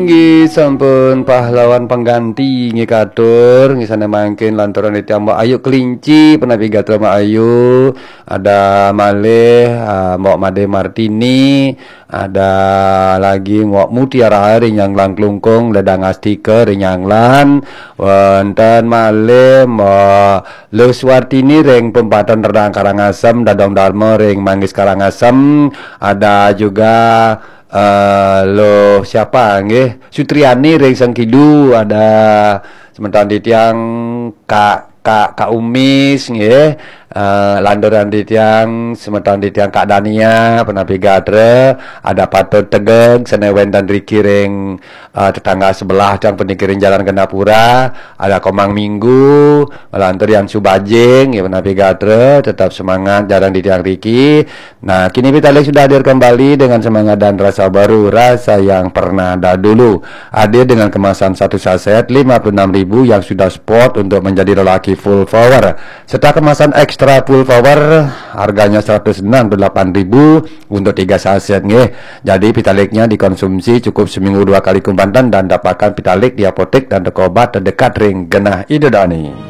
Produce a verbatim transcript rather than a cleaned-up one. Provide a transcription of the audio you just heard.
Inggih sampun pahlawan pengganti nggih katur, nggih sané mangkin lantaran titiang Mbok Ayu Kelinci, punapi gatra Mbok Ayu, ada malih, ah, Mbok Made Martini, ada lagi Mbok Mutiara ring Nyanglan Klungkung, Ledang Astika ring Nyanglan, wonten malih Mbok Luh Suwartini ring Pempatan Rendang Karangasem, Dadong Darma ring Manggis Karangasem, ada juga eh, Luh siapa nggih? Sutriani ring Sengkidu, ada semeton titiang Kak Kak Kak Umis nggih. Eh, lantaran titiang semeton titiang Kak Dania, punapi gatra, ada Patut Tegeg, sané wénten riki ring eh, tetangga sebelah tiang puniki ring Jalan Gandapura, ada Komang Minggu, lantur Yan Subajing, ya, punapi gatra, tetap semangat, jarang di tiang riki. Nah, kini Pitalik sudah hadir kembali dengan semangat dan rasa baru, rasa yang pernah dahulu. Hadir dengan kemasan satu saset lima puluh enam ribu yang sudah spot untuk menjadi lelaki full power. Serta kemasan extra full power, harganya seratus enam puluh delapan ribu untuk tiga saset, nggih. Jadi, Pitaliknya dikonsumsi cukup seminggu dua kali kumpanten dan dapatkan Pitalik di apotek dan toko obat terdekat ring genah Ida Dani.